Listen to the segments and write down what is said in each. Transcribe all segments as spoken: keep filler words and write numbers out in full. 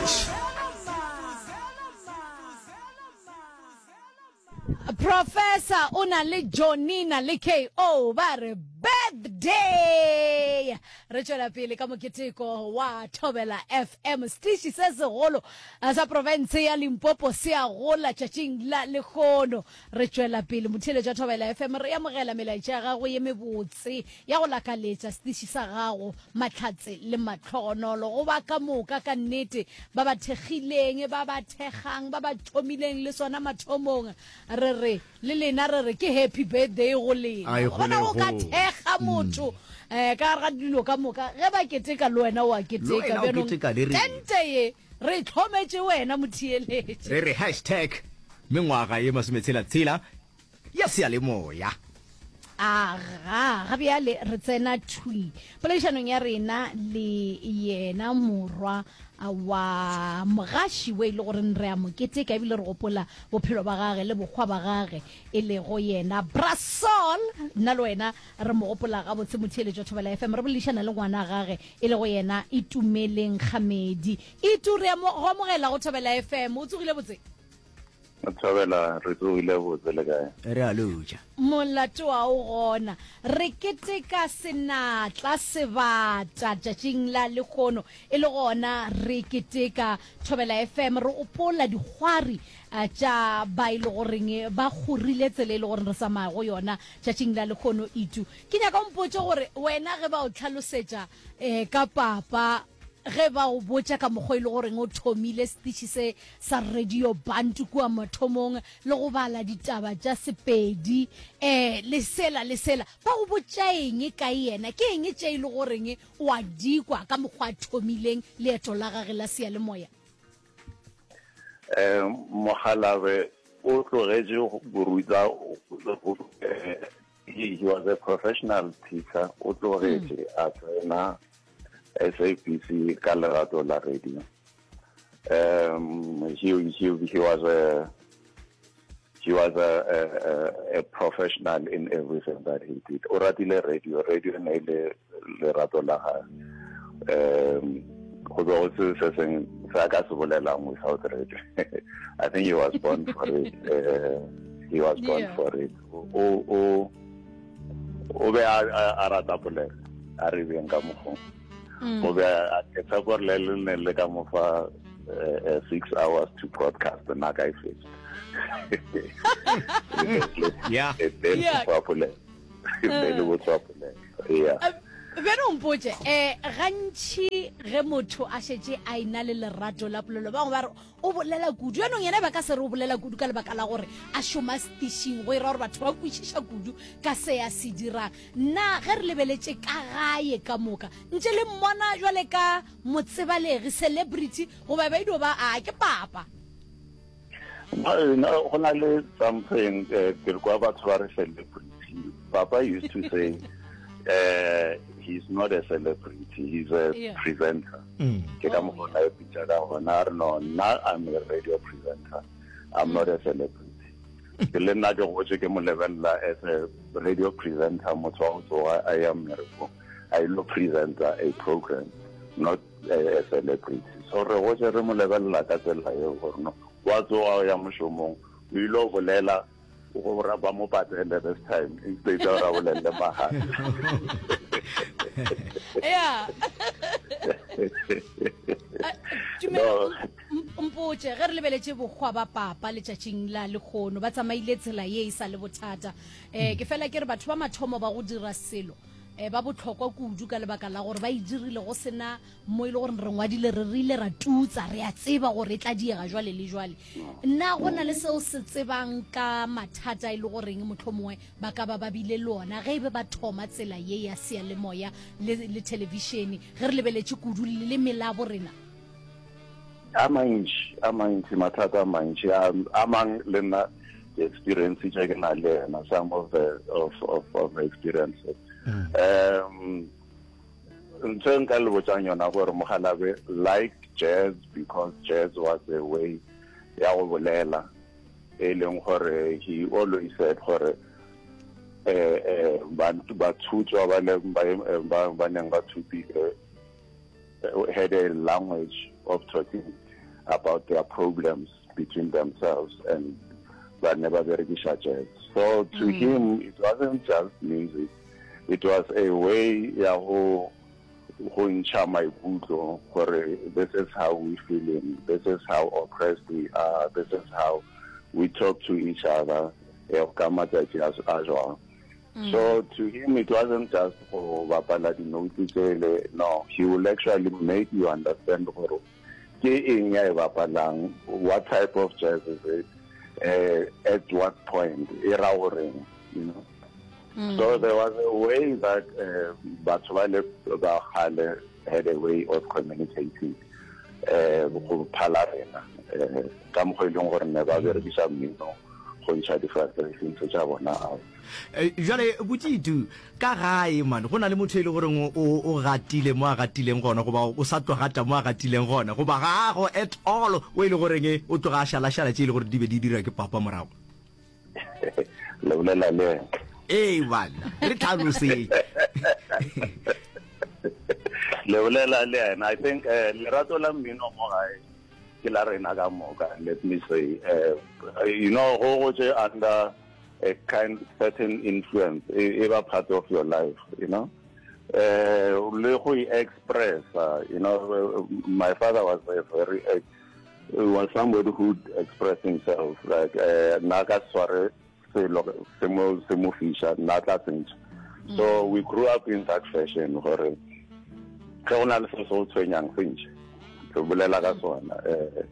Fresh. Professor o na le Johnina le K O ba re birthday. Re tšwela pele ka moketeko wa Thobela F M, setiši se segolo eh, sa profense ya Limpopo se a gola tšatšing la lekgono. Re tšwela pele, motheeletši wa Thobela F M, re amogela melaetša ya gago ye mebotse ya go lakaletša setiši sa gago mahlatse le matlhogonolo go ba ka moka. Ka nnete ba ba thekgileng, ba ba thekgang, ba ba thomileng le sona mathomong, re re le lena, re re ke happy birthday go lena. Ai, gona go ka go. Thekga motho um ka gare ga dilo ka moka ge ba keteka, le wena o a Le keteka. wena o Bjanong keteka le rena. Tente ye re e tlhometše wena motheeletše. Re re hashtag mengwaga ye masometshela-tshela ya seyalemoya. Aga, ga bjale re tsena thwi poledišanong ya rena le yena morwa wa mogaši we e le gore re a mo keteka ebile re gopola bophelo ba gage le bokgwa ba gage, e lego yena Brasol. Nna le wena re mo gopola gabotse, motheeletši wa Thobela F M. Re boledišana le ngwana gage, e lego yena Itumeleng Kgamedi. Itu, re a mo go amogela go Thobela F M. O tsogile botse? Thobela, re tsogile botse, le kae? Re a lotša. Molato wa o gona. Re keteka senatla sebata tšatšing la lekgono, e le gona re keteka Thobela F M, re opola dikgwari eh, tša ba e le goreng ba kgorile tsela e le goreng re tsamaya go yona tšatšing la lekgono. Itu, ke nyaka o mpotse gore wena ge ba o tlhalosetša um ka papa, ge ba o botša ka mokgwa e le goreng o thomile setiši se sa Radio Bantu kua mathomong le go bala ditaba tša Sepedi um le sela le sela, ba go botša eng ka yena? Ke eng tše e le goreng o a dikwa ka mokgwa a thomileng leeto la gage la seyalemoya? um mogalabe o tlogetše go ruta, eh, he, he was a professional teacher. O tlogetše a tsena S A B C ka lerato la radio. um he, he, he was a he was a, a, a professional in everything that he did. O ratile radio, radio ne e le lerato la gage. um go be go se se seng se a ka se bolelang without radio. I think he was born for it. uh, he was born Yeah. for it. O o o be a a- a rata polelo, a re beng ka mokgong. O be a ke tshepa gore le le ne le ka mo fa eh, eh, six hours to broadcast, nna ka e fetsa. Yeah. Yeah. Polelo be le botswa polelo, yeah. Bjale o mpotse, um gantši ge motho a šetše a ena le lerato la polelo, bangwe ba re o bolela kudu. Jaanong yena ba ka se re o bolela kudu ka lebaka la gore a šoma setišing, go ira gore batho ba kwešiša kudu ka se a se dirang. Nna ge re lebeletše ka gae ka moka, ntše le mmona jwale ka motsebalegi, celebrity, goba ba idio ba a ke papa? No, no, go na le something, eh, ke re kwa batho ba re celebrity. Papa used to say uh, he's not a celebrity, he's a Yeah. presenter. Ke ka Oh, mokgwa na e pitša ka gona, a re, "No, nna I'm a radio presenter, I'm not a celebrity." Ke le nna ke gotse ke mo lebelela as a radio presenter, motho wa go tsoga a ya mmerekong a ilo presenter a program, not a, a celebrity. So re gotse re mo lebelela ka tsela eo, gore no, wa tsoga o ya mošomong, o ile o bolela gore ba mo patele this time instead ya gore a bolelele mahala. Yeah. Tumelo, mpotse, ge re lebeletše bokgwa ba papa letšatšing la lekgono, ba tsamaile tsela ye e sa le bothata. um ke fela ke re batho ba mathomo ba go dira selo um ba botlhokwa kudu ka lebaka la gore ba e dirile go sena mo e le gore re ngwadile, re rile ra tutsa, re a tseba gore e tla diega jwale le jwale. Nna go na le seo se tsebang ka mathata e le goreng motlho mongwe ba ka ba ba bile le ona ge e be ba thoma tsela ye ya seyalemoya le, le thelebišene, ge re lebeletše kudu leleme la bo rena? A mantši, a mantši mathata, a mantši. a a mang le nna experience tše ke na le yena, some of the of of, of the experiences. um ntho e nka le botsang yona gore mogalabe liked jazz because jazz was a way ya go bolela, e leng gore he always said gore eh eh bathutswa ba le ba ba neng ba thupile had a language of talking. about their problems between themselves and ba ne ba berekiša jazz. So to mm. him it wasn't just music, it was a way ya go go ntšha maikutlo gore this is how we feeling, this is how oppressed we are, this is how we talk to each other eh, ka matsatsi a a jwang. Mm. So to him it wasn't just go bapala dinote tsele, no, he will actually make you understand gore ke eng ya e bapalang, what type of jazz is it, uh, at what point e ra goreng, you know. Mm. So there was a way that uh, batho ba le ba kgale had a way of communicating uh, go phala rena uh, ka mokgwa e leng gore ne ba berekisa mmino go ntšha di-frustrations tša bona out. Eh, Jwale botitu ka gae man go na le motho e le goreng o o gatile mo a gatileng gona goba o sa tlo gata mo a gatileng gona goba gago at all o e le goreng o tloga a šalašala tše e le gore di be di dira ke papa morago. Le bolela le yena. Ee bana re tlhalosetse. Le bolela le yena. I think uh, lerato la mmino mo gae ke la rena ka moka, let me say. Uh, you know, go go tše under a kind certain influence e e ba part of your life, you know. Uh, le go express, uh, you know, my father was a very uh, was somebody who express himself like uh, nna ka sware selo se mo se mo fiša nna tla sentšha. So we grew up in that fashion gore ge go na le se se go tshwenyang se ntšhe re bolela ka sona, eh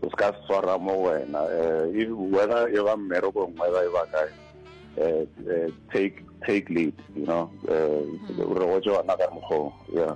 o se ka swara mo wena, eh whether e ba mmerekong, whether e ba kae, eh eh, take take lead, you know, eh re gotse yona ka mokgwa, yeah.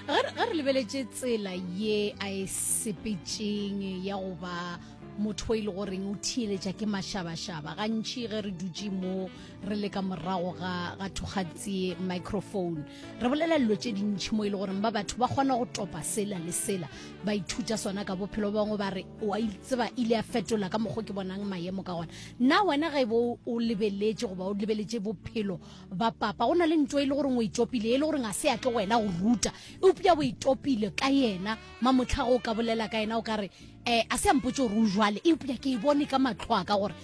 Ge re ge re lebeletše tsela ye a e sepetšeng ya go ba motho e le goreng o theeletša ke mašabašaba gantši ge re dutše mo re le ka morago ga ga thokgatsie microphone re bolela dilo tše dintšhi mo e le goreng ba batho ba kgona go topa sela le sela ba ithuta sona ka bophelo. Ba bangwe ba re o a tseba ile a fetola ka mokgwa ke bonang maemo ka gona. Nna wena ge bo o lebeletše goba o lebeletše bophelo ba papa, go na le ntho e le goreng o itopile e le goreng a se a tlo wena go ruta eupša o itopile ka yena mamotlha go o ka bolela ka yena o ka re um a se a mpotse gore o jwale eupša ke e bone ka matlho a ka gore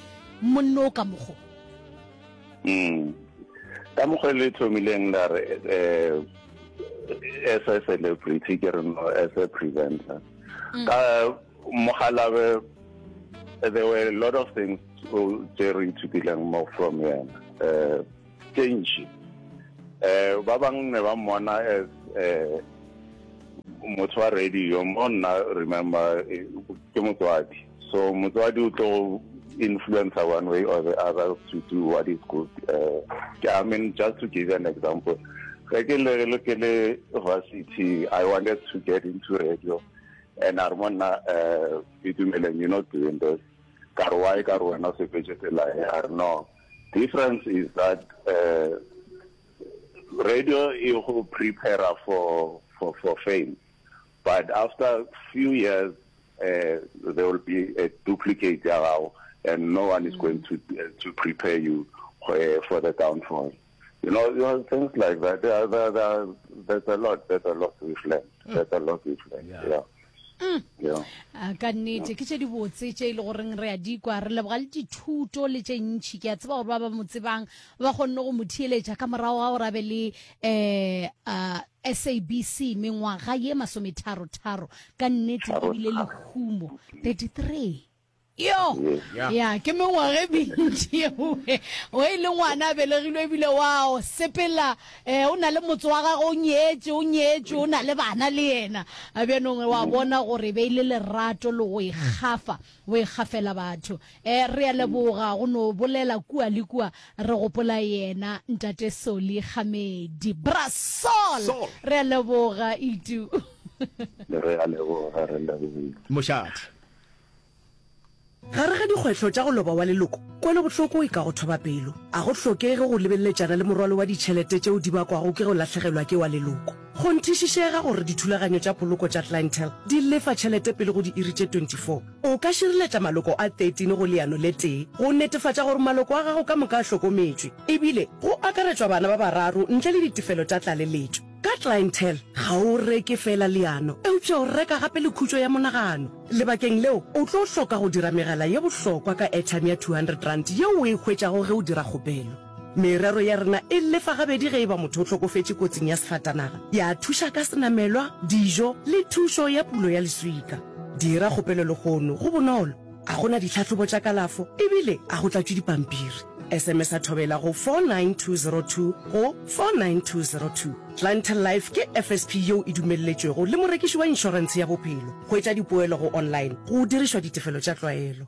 monno o ka mokgo. Mm. Ka mokgwa le thomileng la re eh as a celebrity ke re no as a presenter ka mogalabe, there were a lot of things tse re ithutileng mo from yena, eh tse ntši. Eh ba bang ne ba mmona as eh motho wa radio mo nna, remember, eh, ke motswadi, so motswadi o tlo influencer one way or the other to do what is good. uh, I mean, just to give you an example, ge ke le le ke le varsity, I wanted to get into radio and a re monna, uh Itumeleng, you're not doing this. Ka re why? Ka re wena o sepetse tsela e. A re no, difference is that uh, radio e go prepare for for for fame, but after few years uh, there will be a duplicate ya gago and no one is mm. going to uh, to prepare you uh, for the downfall, you know, you know things like that. There, there, there, there's a lot there's a lot we've learned. mm. There's a lot we've learned. Yeah, yeah. Mm. Yeah. Ka nnete ke tše dibotse tše e le goreng re a dikwa, re leboga le dithuto le tše ntšhi. Ke a tseba gore ba ba mo tsebang ba kgonne go mo theeletša ka morago ga gore a be le um S A B C mengwaga ye masometharo-tharo. Ka nnete ebile lehumo thirty-three yo ya ke mengwaga e mentši yeo o e le ngwana a belegilwe ebile wa sepela um o na le motse wa gage, o nyetše o nyetšwe o na le bana le yena. A bjanong wa bona gore be e le lerato le go ikgafa o ikgafela batho. um re a leboga go no bolela kua le kua re gopola yena ntate Soli Gamedi Brasol. Re a leboga itu. Re a leboga, re lebogile. Mošate. Gare ga dikgwetlho tša go loba wa leloko, kwelobohloko e ka go thoba pelo. A go hlokege go lebeleletšana le morwalo wa ditšhelete tšeo di bakwago ke go lahlegelwa ke wa leloko. Kgonthišišega gore dithulaganyo tša poloko tša Clientele di lefa tšhelete pele go diiri tše twenty-four. O ka šireletša maloko a thirteen go leano le tee go netefatša gore maloko a gago ka moka a hlokometšwe, ebile go akaretšwa bana ba bararo ntle le ditefelo tša tlaleletšo. Ka Clientele ga o reke fela leano, eupša o reka gape le khutšo ya monagano. Lebakeng leo, o tlo hloka go dira megala ye bohlokwa ka airtime ya two hundred rand yeo o e hwetšago ge o dira kgopelo. Merero ya rena e lefa gabedi ge e ba motho o hlokofetše kotsing ya sefatanaga, ya thuša ka senamelwa, dijo le thušo ya pulo ya leswika. Dira kgopelo lehono, go bonolo, ga go na ditlhahlobo tša kalafo ebile ga go tlatšwe dipampiri. S M S a Thobela go four nine two zero two go four nine two zero two. Clientele Life ke F S P yeo e dumelletšwego le morekiši wa inšorentshe ya bophelo. Hwetša dipoelo go online go dirišwa ditefelo tša tlwaelo.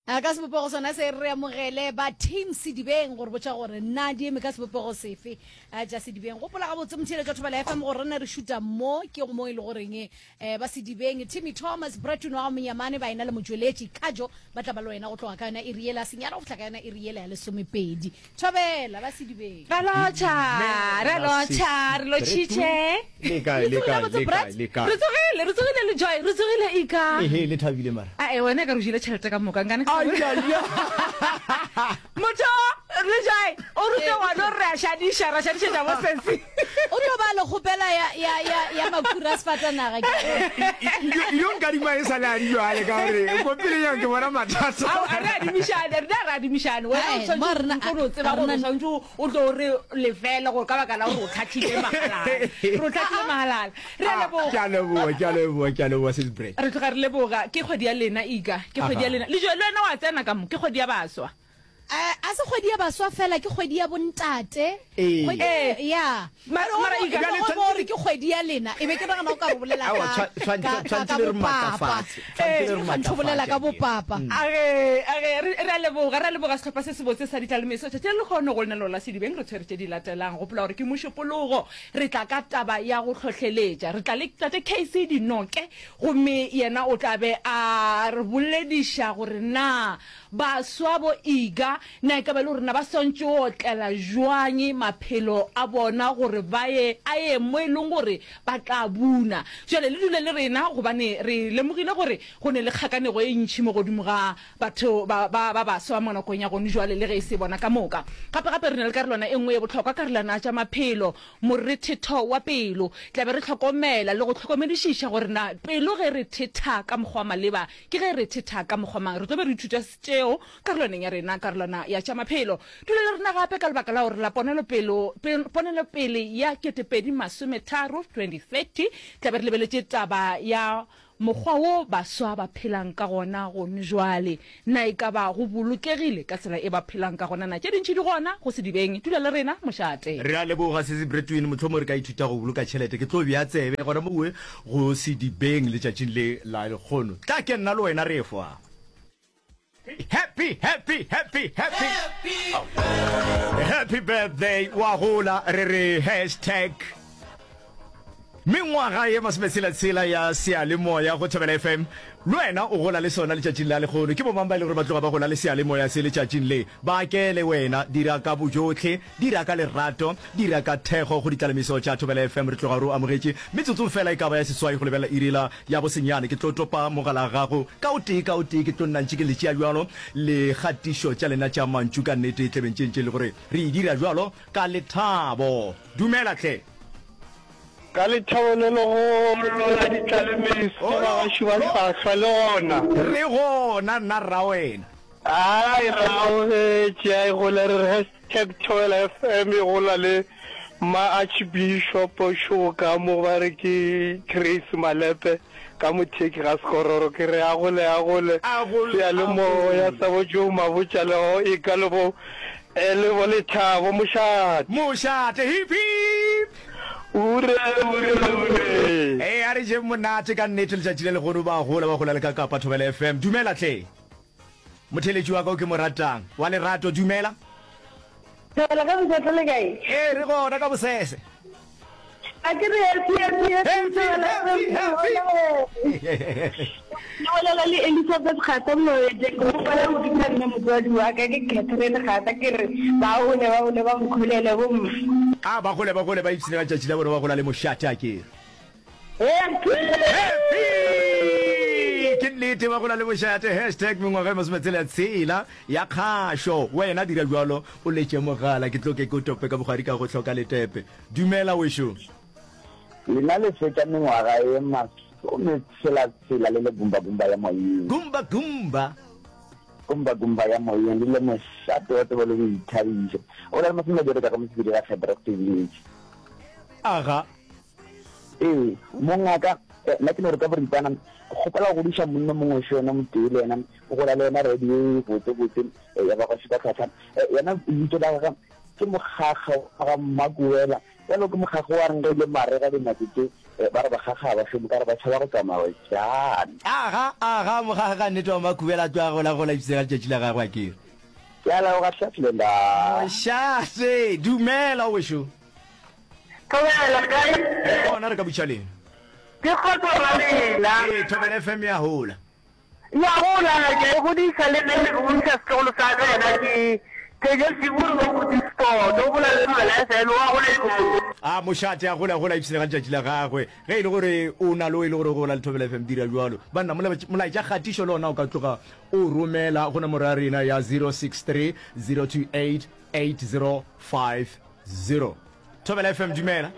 A Ka sebopego sona se re amogele ba Team Sedibeng gore botša gore na di eme ka sebopego sefe tša Sedibeng. Gopola gabotse motheeletši wa Thobela F M gore rena re šuta mo ke go mo e le goreng eh, ba Sedibeng Timmy Thomas Breton wa Monyamane ba ena le motšweletši Kajo ba tla ba le wena go tloga ka yona iri yela senyana go fihla ka yona iri yela ya lesomepedi. Thobela ba Sedibeng. Ra lotšha, ra lotšha, re lotšhitše. Le kae, le kae, le kae, le kae? Re tsogile, re tsogile le Joy, re tsogile Ika. Ehe, le thabile mara. Ae, wena ka re o jele tšhelete ka moka, nkane ke sa Motho, le Joy, o rute ngwana o re a šadiša, ra šadišetša bo sesi. O tlo ba le kgopela ya, ya, ya, ya makhura a sefatanaga ke. Yo nkadima e sa le a di jwale ka gore ko pele yang ke bona mathata. Ao, a re adimišane, rena re adimišane. Wena o Ae, mo tshwanetse rena, o no tseba a gore o rena tshwanetse o tlo re lefela gore ka baka la gore o tlhatlhile magalala. Re o tlhatlhile magalala. Re a Ah, leboga. ke a leboga, ke a leboga, ke a leboga sis Brett. Re tloga re leboga. Ke kgwedi ya lena, Ika. Ke kgwedi ya Aha. lena. Le jo, le wena wa tsena ka mo. Ke kgwedi ya baswa. Eh, a se kgwedi ya baswa fela, ke kgwedi ya bontate. Ee. Kgwedi Ee. ya. Ma- Mara o mara bo- Ika- o Bjale bo tshwanetse re ke kgwedi ya lena, e be ke nagana o ka re bolela Aowa, ka tshwa- tshwa- ka ka tshwantse ka le re bopapa. matlafatse. Tshwantse le re Kganthe o bolela matlafatse ka akere. bopapa. Age, age, re re a leboga, re a leboga sehlopha se sebotse sa ditlalemeso. Tšatši le lekgono go lenaneo la Sedibeng re tshwere tše di latelang. Gopola gore ke Mošupologo, re tla ka taba ya go hlohleletša. Re tla le Tate K C Dinoke, gomme yena o tla be a re bolediša gore na baswa bo Iga na e ka ba e le gore na ba swantše go otlela jwang maphelo a bona gore ba ye a ye mo e leng gore ba tla buna. Jwale le dule le rena gobane re lemogile gore go ne le kgakanego e ntši mo godimo ga batho ba, ba, ba baswa mo nakong ya gone jwale le ge e se bona ka moka. Gape gape re na le karolwana e nngwe ye bohlokwa, karolwana ya tša maphelo, morethetho wa pelo. Tla be re hlokomela le go hlokomedišiša gore na pelo ge re thetha ka mokgwa wa maleba ke ge re thetha ka mokgwa mang. Re tlo be re ithuta tšeo karolwaneng ya rena, karolwana ya tša maphelo. Dula le rena gape ka lebaka la gore la ponelopelo, ponelopele ya ketepedi masometharo, twenty thirty, tla be re lebeletše taba ya mokgwa wo baswa ba phelang ka gona gone jwale. Na e ka ba go bolokegile ka tsela e ba phelang ka gona? Na tše dintši di gona go Sedibeng? Dula le rena, mošate. Re a leboga Sisi Bretwin, mohlomong re ka ithuta go boloka tšhelete. Ke tlo bea tsebe gona mowe go Sedibeng letšatšing le la lekgono. Tla ke nna le wena re efoa. Happy, happy, happy, happy. Happy birthday wa gola re re hashtag mengwaga ye masometshela-tshela ya seyalemoya go Thobela F M. Le wena o gola le sona letšatšing la lekgono. Ke bomang ba e le gore ba tloga ba gola le seyalemoya se letšatšing le? Ba kele wena, dira ka bojohle, dira ka lerato, dira ka thekgo go ditlalemiso tša Thobela F M. Re tloga re o amogetše metsotsong fela e ka ba ya seswai go lebelela iri la ya bosenyane. Ke tlo topa mogala gago ka o tee ka o tee, ke tlo nna ntše ke le tšea bjalo le kgatišo tša lena tša mantšu ka nnete e tlebeng tše ntše le gore re e dira bjalo ka lethabo. Dumela hle. Ka lethabo le legolo la ditlalemeso bagaši ba hlwahlwa le gona. Re gona nna rra wena. Ai re amogetše, ai gole re re hashtag Thobela F M e gola le ma Archbishop Šoka mo ba re ke Grace Malepe ka motheki ga Sekororo ke re a gole a gole A gole, a seyalemoya gole. sa bo Joe Mabotja le go e ka le bo eh, le bo Lethabo mošate. Mošate, hip hip. Ure, ure, ure. Ee, a re jeng monate ka nnete letšatši le legono ba gola ba gola le ka Kapa Thobela F M. Dumela hle. Motheeletši wa ka o ke mo ratang wa lerato, dumela. Thobela ka bosese le kae? Ee, re gona ka bosese. A ke re happy, happy, happy, Happy, Thobela happy, F M. happy. Ke bolela le Elizabeth Gata Moeteng, ke gopela go bitsa nna motswadi wa ka ke Catherine Gata, ke re ba gole ba gole ba nkgolele bomme. A ba gole ba gole ba ipshine ka letšatši la bona ba gola le mošate a kere. Happy. Happy. Ke nnete. nnete ba gola le bošate hashtag mengwaga e masometshela tshela ya kgašo wena dira bjalo o letše mogala ke tlo ke ke o tope ka bogwari ka go hloka letepe dumela wešo. Lena le fetša mengwaga e masometshela-tshela le le gumba-gumba ya moyeng. Gumba-gumba. Gumba-gumba ya moyeng, le le mošate wa tsebo le boithabišo. O na le masomebedi ka go mosepedi ga Shadrack Village. Aga. Ee, mongaka, nna ke no re ka boripana, ke kgopela go godiša monna mongwe šo yena motee le yena, o gola le yena radio e botse-botse ya ba gwa Šupa-tlhwatlhwa. Yena lebitso la gagwe ke Mokgakga wa ga Mmakuwela. Bjalo ke mokgakga wa reng ge e le marega dinako tše ba re bakgakga ga ba šome ka re ba tšhaba go tsamaya bjang. Aga, aga, mokgakga ka nnete wa Makhubela a tloga gola gola ipsega letšatši la gagwe a kere. Ke a leboga hle Slenda. Mošate, dumela wešo. Thobela, le kae? Re gona re ka butša lena. Ke kgotso ra lena. Ee, Thobela F M ya hola. Ya gola, ke a e godiša le nna ke godiša setlogolo sa ka yena ke Thejo Siburi wa Koetsisport, o gola le Thobela F M, wa gola kudu. A mošate a gola gola ipshine ka letšatši la gagwe. Ge e le gore o na le o e le gore o gola le Thobela F M dira bjalo. Banna molaetša kgatišo le ona o ka tloga o romela go nomoro ya rena ya zero six three zero two eight eight zero five zero. Thobela F M dumela.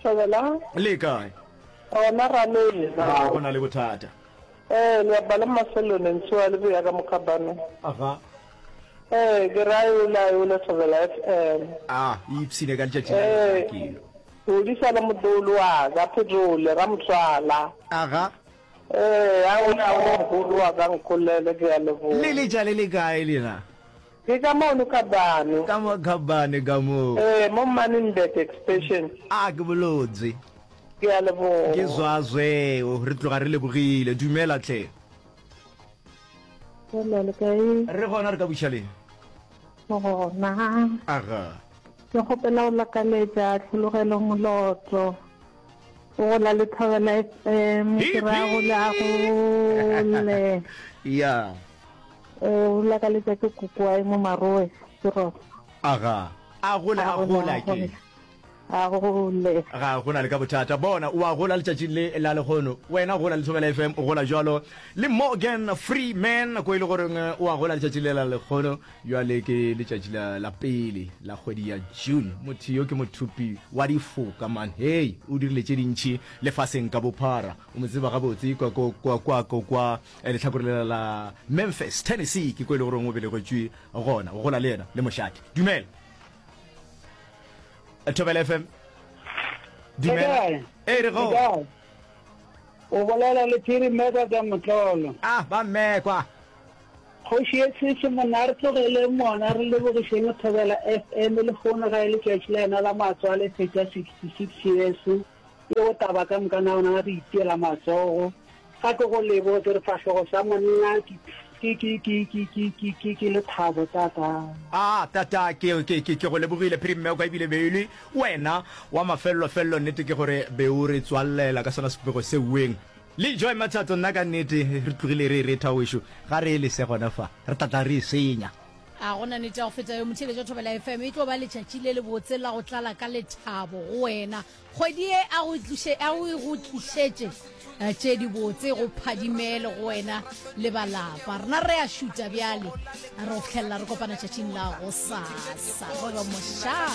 Thobela. Le kae? Gona ra lena. Ga go na le bothata. Ee, le bapala Maselone Ntshiwa le boya ka Mokgabane. Aga. Ee, ke ra yola yola Thobela F M. A, e ipshine ka letšatši la lena Ee, ke. godisa le modolo wa ka Phetole Ramotswala. Aga. Ee, a o na o mogolo wa ka nkolele ke a leboga. Le letša le le kae lena? Ke ka mono Khabane. Ka mo Khabane ka mo. Ee, mo Manenberg Extension. A ke bolotse. Ke a leboga. Ke zwazweo, re tloga re lebogile. Dumela hle. Hello, le kae? Re gona, re ka buša leng? Re gona. Aga. Ke kgopela go lakaletša Tlhologelo Moloto. O gola le Thobela F M, ke ra gole a gole. Ya. O lakaletša ke kokoae mo Maroe, Serosa. Aga. A gole a gole ke. A gole. Ga go na le ka bothata. Bona, o a gola letšatšing le la lehono. Wena gola le Thobela F M, o gola jwalo le Morgan Freeman, ko e le goreng o a gola letšatšing le la lehono. Bjale ke letšatši la, la pele la kgwedi ya June. Motho yo ke mothupi wa difoka, man. Hei, o dirile tše dintši lefaseng ka bophara. O mo tseba gabotse kwa, kwa, kwa, kwa, kwa, kwa lehlakore lela la Memphis, Tennessee, ke ko e le goreng o belegetšwe gona. O gola le yena le mošate. Dumela. Thobela F M. Dumela. Ee, re go. O bolela le Phiri Mmekwa ka Motlolo. Ah, ba Mmekwa. Kgoši ye sese monna a re tlogeleng mona re lebogišeng Thobela F M lehono ga e letšatši la yena la matswalo e fetša sixty six years yeo taba ka moka na ona re itiela matsogo ga ke go leboge ke re fahlogo sa monna ke ke ke ke ke ke ke ke ke lethabo tata. Ah tata ke ke ke ke go lebogile Phiri Mmekwa ebile be e le wena wa mafellofello nnete ke gore be o re tswallela ka sona sebopego se weng Le Joy Mathatso, nna ka nnete re tlogile re e retha wešo, ga re e lese gona fa, re tla tla re e senya. A go na nnete ya go feta yo motheeletši wa Thobela F M? E tlo ba letšatši le lebotse la go tlala ka lethabo go wena. Kgwedi ye a go tliše, a go e go tlišetše tše dibotse, go phadimele go wena le ba lapa. Rena re a šuta bjale, re go fihlelela re kopana tšatšing la gosasa. Re re mošate.